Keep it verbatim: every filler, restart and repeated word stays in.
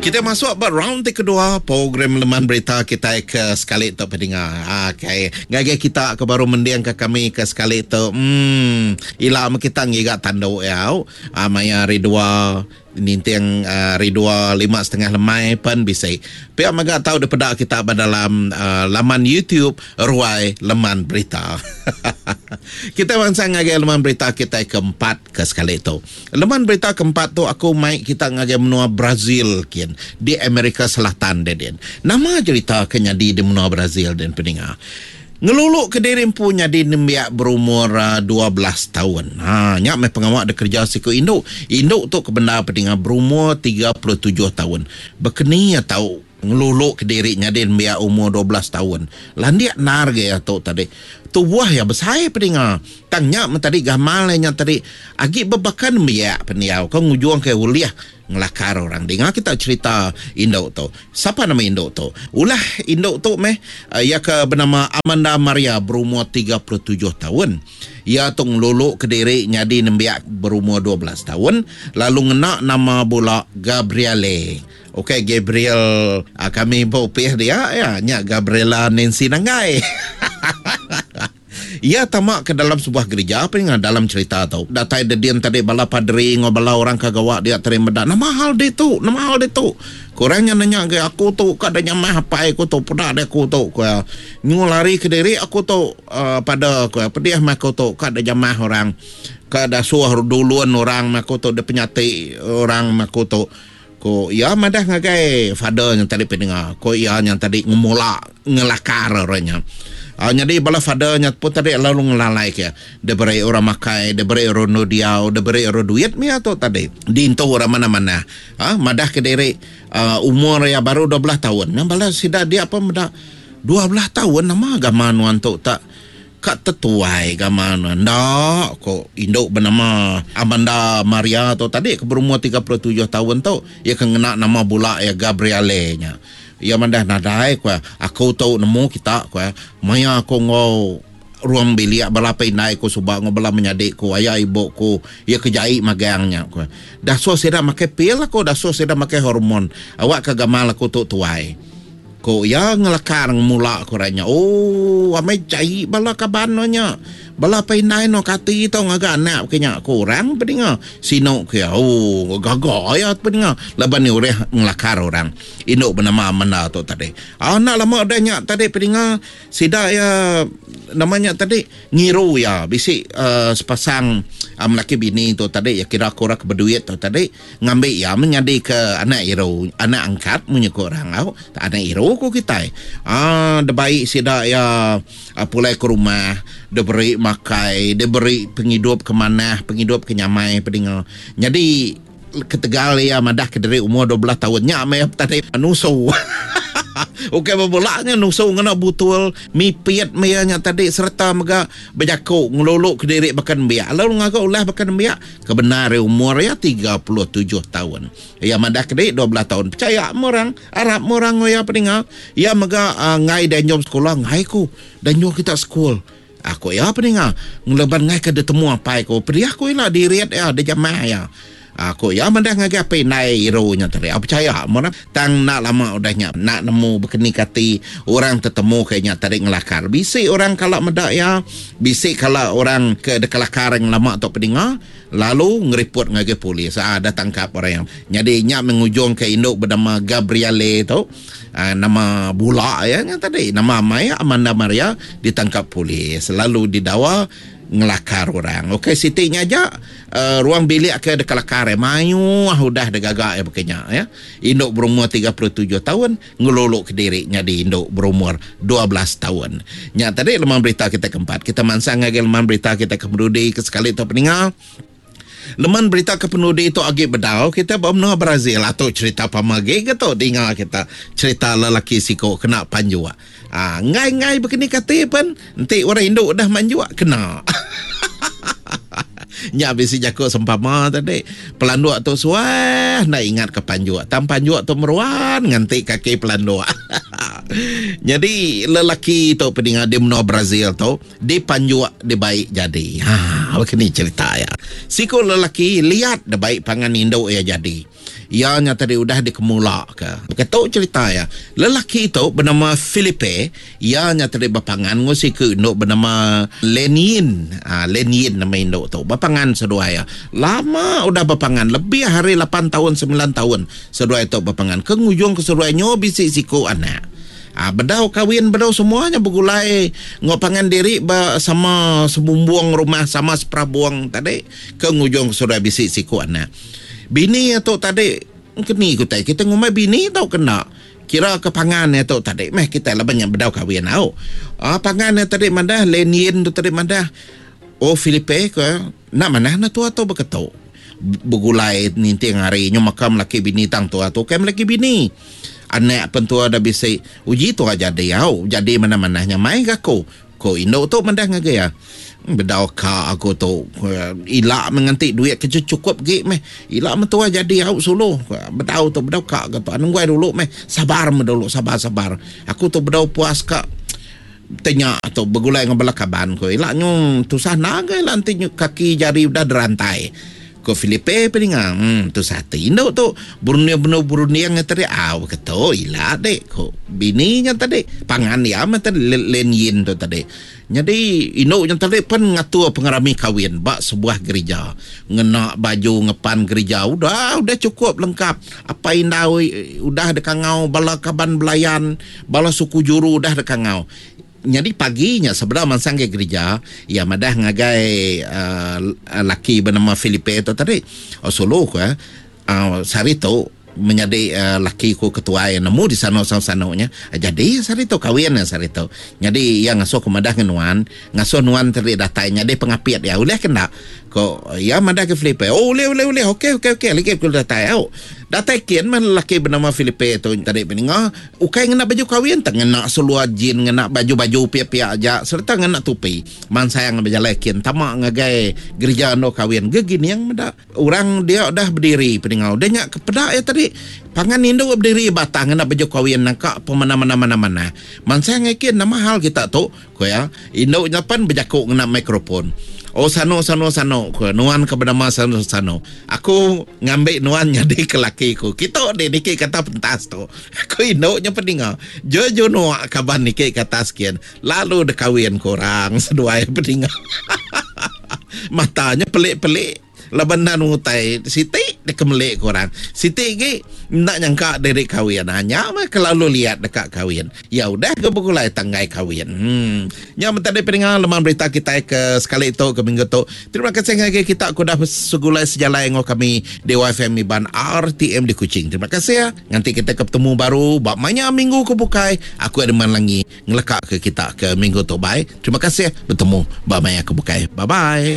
Kita masuk ba round ti kedua program Leman Berita kita ke sekali tu peninga. Okey, ngagai kita ke baru mending ke kami ke sekali tu. Hmm, ila kita ngiga tandu ya. Ah, maya hari dua ninting hari dua lima setengah lemai pen bisi. Pihak mega tahu daripada kita dalam uh, laman YouTube Ruai Leman Berita. Kita bangsa ngagai leman berita kita keempat ke sekali tu. Leman berita keempat tu aku mai kita ngagai menua Brazil kian di Amerika Selatan den. Nama cerita ke nyadi di menua Brazil den peninga. Ngeluluk ke diri punya di nembiak berumur uh, dua belas tahun. Ha, nyak me pengawak de kerja siku induk. Induk tu kebenar peninga berumur tiga puluh tujuh tahun. Bekeni ya tau ngeluluk ke diri nyadi nembiak umur dua belas tahun. Landiak nar ge ya tu tadi. Tubuh ya besai peninga. Tang nyak me tadi gamal nya tadi agi bebakan nembiak peniau. Kau ngujung ke uliah ngelakar orang. Dengar kita cerita induk tu. Siapa nama induk tu? Ulah induk tu meh ia ke bernama Amanda Maria berumur tiga puluh tujuh tahun. Ia tu ngeluluk ke diri nyadi nembiak berumur dua belas tahun lalu ngena nama bula Gabriele. Okey, Gabriel kami bopih dia ya nya Gabriela Nancy Nanggai. Ia tamak ke dalam sebuah gereja apa yang dalam cerita tu. Datai dedian tadi bala padri ngau bala orang kagawak dia terima dak. Nama hal dia tu, nama hal dia tu. Kurangnya nanya ke aku tu kada nyamah apa aku tu peda dia aku tu ku. Nyu lari ke diri aku tu uh, pada ku pedih mah aku tu kada jamah orang. Kada suah duluan orang mah aku tu dia penyati orang mah aku tu. Ko ia madah ngagai father yang tadi pendengar. Ko ia yang tadi ngemula ngelakar orangnya. Uh, jadi bala father nya pun tadi lalu ngelalai ke. Dia beri orang makai, dia beri orang diau, dia beri orang duit mia tu tadi. Dintu orang mana-mana. Ha, madah ke diri uh, umur ya baru dua belas tahun. Yang bala sida dia apa madah dua belas tahun nama agama nuan tu tak kat tetuai agama nuan. Ndak ko induk bernama Amanda Maria tu tadi ke berumur tiga puluh tujuh tahun tu ia kena nama bula ya Gabriele nya. Ia mandah nadai ku aku tu nemu kita ku maya aku ngau ruang bilik bala indai ku subak ngau bala menyadik ku ayah ibu ku ia kejai magangnya ku. Dah so sida make pil aku dah so sida make hormon awak ke gamal aku tu tuai. Ko ya ngelakar mula ku ranya. Oh, amai jai bala kaban nya. Bala painai no kati tau ngaga anak kenya kurang peninga. Sino ke oh gagah ya peninga. Laban ni ureh ngelakar orang. Induk bernama Amanda tu tadi. Ah nak lama dah nya tadi peninga sida ya namanya tadi ngiru ya bisi uh, sepasang um, laki bini tu tadi ya kira kurang berduit tu tadi ngambil ya menjadi ke anak iru anak angkat munyi orang au anak iru ku kita. Ah de baik sida ya pulai ke rumah diberi makai diberi penghidup ke mana penghidup ke nyamai peninga. Jadi ketegal ya madah ke diri umur dua belas tahun nya me tadi nusu. Okey berbolaknya nusu ngena butul mipit nya tadi serta mega berjakuk ngeluluk ke diri bahkan biak lalu ngagak ulah bahkan biak kebenar umur ya tiga puluh tujuh tahun. Ya madah ke diri dua belas tahun percaya orang Arab orang ya peninga. Ya mega uh, ngai dan jom sekolah ngai ku dan jom kita school. Aku ya peninga ngeleban ngai ke ditemu apa aku pedih aku lah diriat ya de jamah ya. Aku ya mendah ngagai apa nai irunya tadi. Aku percaya mana tang nak lama udahnya nak nemu berkeni kati orang tertemu kayaknya tadi ngelakar. Bisi orang kalau medak ya, bisi kalau orang ke dekelakar yang lama atau peninga lalu ngeripot ngagai polis. Ah dah tangkap orang yang. Jadi nyak mengujung ke induk bernama Gabriele tu. Ah, nama bula ya nya tadi nama Maya Amanda Maria ditangkap polis lalu didawa ngelakar orang. Okey sitinya aja uh, ruang bilik ke dekelakar mayu udah degagak ya bekenya ya. Induk berumur tiga puluh tujuh tahun ngeluluk ke diri nyadi induk berumur dua belas tahun. Nya tadi leman berita kita keempat. Kita mansang ngagai leman berita kita kemerudi ke sekali tu peningal. Leman berita ke penudi itu agi bedau kita bermenua Brazil atau cerita pamagi ke tu dengar kita cerita lelaki siko kena panjua. Ah ngai-ngai begini kata pun nanti orang induk dah manjua kena. Nya bisi jakuk sempama tadi pelanduk tu suah nak ingat ke panjua. Tam panjua tu meruan nganti kaki pelanduk. Nyadi lelaki tu peninga di menua Brazil tu dipanjuk dibai jadi. Ha, baka ni cerita iya. Siku lelaki liat dibai pangan indu iya jadi. Iya nya tadi udah dikemula ke. Baka tu cerita iya. Lelaki tu benama Felipe, iya nya tadi bepangan enggau siku indu benama Lenin. Ha, Lenin nama indu tu. Bepangan seduai iya. Lama udah bepangan, lebih ari lapan taun semilan taun seduai tu bepangan. Ke ngujung ke seduai nyu bisi siku anak. Ha, bedau kawin bedau semuanya begulai enggau pangan diri ba sama sebumbung rumah sama seperabung tadi ke ngujung ke seduai bisi siku anak. Bini iya tu tadi keni ku tai kita ngumbai bini tau kena kira ke pangan iya tu tadi meh kita laban nya bedau kawin au. Ha, pangan iya tadi madah Lenin tu tadi madah oh Felipe ko nak manah na tua tu beketu begulai ninting hari nyu maka melaki bini tang tua tu kai melaki bini. Anak pen tua dah bisi uji tua jadi au jadi manah-manah nya mai ga aku. Ko indu tu madah ngagai iya. Bedau ka aku tu ila menganti duit ke cukup gi meh. Ila mentua jadi au sulu. Bedau tu bedau ka ga tu. Nunggu dulu meh. Sabar meh dulu sabar sabar. Aku tu bedau puas ka tanya tu begulai dengan bala kaban ko. Ila nyu tusah naga ila enti nyu kaki jari udah derantai. Ko Felipe peninga, hmm, tusah ati indu tu. Berunding-berunding berunding tadi au ketu ila dek ko bini nya tadi pangan dia meh tadi Len Yin tu tadi. Jadi indu nya tadi pen ngatur pengerami kawin ba sebuah gereja. Ngena baju ngepan gereja udah udah cukup lengkap. Apa indau udah dekangau bala kaban belayan, bala suku juru udah dekangau. Jadi paginya sebelum mansang ke gereja, ia madah ngagai uh, laki bernama Felipe tu tadi. Oh sulu ko eh. Uh, sehari tu menjadi uh, laki ku ketua yang nemu di sana sana-sananya. Jadi sehari tu kawin ya sehari tu. Jadi yang ngasuh ku madah ke nuan, ngasuh nuan tadi datai jadi pengapit ya. Uleh kena. Ko ya madah ke Felipe. Oh uleh uleh uleh. Okey okey okey. Lagi ku datai au. Datai kian mah lelaki bernama Felipe tu tadi peninga ukai ngena baju kawin tak ngena seluar jean ngena baju-baju pia-pia aja serta ngena topi. Man sayang berjalan kian tama ngagai gereja ando kawin gegini yang meda orang dia udah berdiri peninga. Udah nya kepedak ya tadi pangan indu berdiri batang ngena baju kawin nangka pemana-mana-mana-mana. Man sayang kian nama hal kita tu ko ya indu nya pan berjakuk ngena mikrofon. Oh sano sano sano ko nuan ke bernama sano sano. Aku ngambil nuan jadi ke laki ku. Kita ni niki kata pentas tu. Aku induknya peninga. Jojo nuak kaban niki kata sekian. Lalu dekawin korang seduai peninga. Matanya pelik-pelik. Laban nan utai siti dekemelik korang. Siti gi nak nyangka diri kawin. Hanya mah kelalu lihat dekat kawin. Ya udah ke begulai tanggai kawin. Hmm. Nya tadi peninga leman berita kita ke sekali tu ke minggu tu. Terima kasih ngagai kita ku dah segulai sejalai ngau kami di Y F M Iban R T M di Kuching. Terima kasih ya. Nanti kita ketemu baru bab maya minggu ke bukai. Aku ada Langi ngelekak ke kita ke minggu tu. Bye. Terima kasih bertemu bab maya ke bukai. Bye bye.